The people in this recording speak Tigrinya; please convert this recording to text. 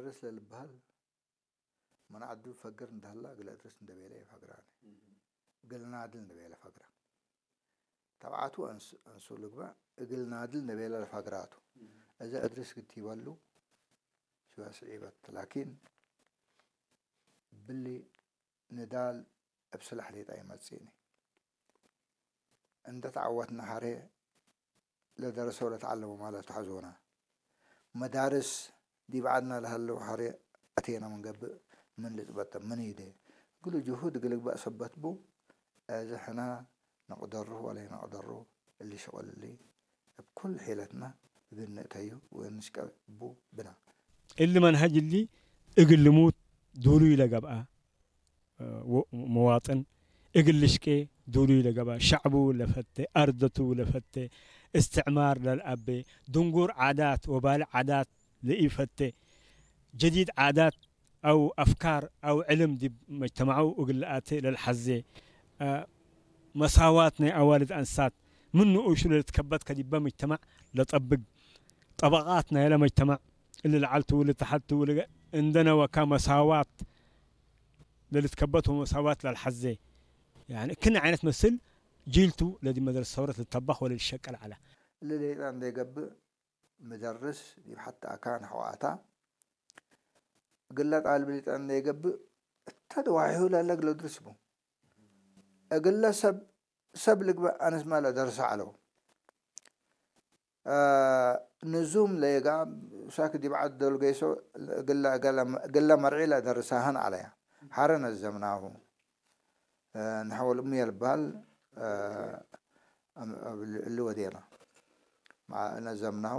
እግል እድርስ ለልበሃል መን ዓዱ ፈግር እንዳህላ እግል እድርስ እንደቤለ ይፈግራ። እግል ናድል እንደቤለ ፈግራ። ተብዓቱ ኣንሱ ልግበ እግል ናድል እንደቤለ ለፈግራቱ። እዘ እድርስ ግቲበሉ ሽዋ ስዒበት ላኪን ብሊ ንዳል እብ ስላሕ ሌጣ ይመጽእኒ። እንደ ተዓወትና ሐሬ ለደረሰው ለተዓለሙ ማለት ተሐዞና። መዳርስ ዲብ ዓድና ለሀለው ሐሬ ኣቴና ምንገብእ ምን ልጽበጠ ምን ይደ እግሉ ጅሁድ እግል ግባእ ሰበት ቡ። እዚ ሕና ነቅደሩ ወለ ነቅደሩ እሊ ሽቅል እሊ እብ ኩል ሒለትና እግል ንእተዩ ወንስቀቡ ብና። እሊ መንሀጅ እሊ እግል ልሙት ዱሉይ ለገብአ መዋጥን እግል ልሽቄ ዱሉይ ለገብአ ሸዕቡ ለፈቴ፣ አርደቱ ለፈቴ፣ እስትዕማር ለልአቤ፣ ድንጉር ዓዳት ወባሊ ዓዳት ለኢፈቴ፣ ጀዲድ ዓዳት አው አፍካር አው ዕልም ዲብ መጅተማዑ እግል ለአቴ ለልሐዜ፣ መሳዋት ናይ አዋልድ አንሳት ምን ንኡሹ ለልትከበት ከዲበ መጅተማዕ ለጠብግ፣ ጠበቃት ናይለ መጅተማዕ እሊ ለዓልቱ ወለተሐቱ ወለገ እንደ ነወካ መሳዋት ለልትከበት ወመሳዋት ለልሐዜ፣ ያኒ ክን ዓይነት መስል ጂልቱ ለዲ መድረስ ሰውረት ልተባኽ ወለልሸቀል ዐለ። እሊ ሌጣ እንዴ ገብእ ምደርስ ዲብ ሐቲ አካን ሐዋታ እግለ ጣልብ ሊጠን ለይገብእ እተ ደዋሒሁ ለለ እግለ ድርስ ቡ። እግለ ሰብ ሰብ ልግበእ አነስመ ለደርሰ ዐለው። ንዙም ለየጋ ሳክ ዲብ ዐድ ዶል ገይሶ እግለ መርዒ ለደርሳህን ዐለያ። ሐረ ነዘምናሁ። ንሐወል እምየ ልባል እሊ ወዴና ነዘምናሁ።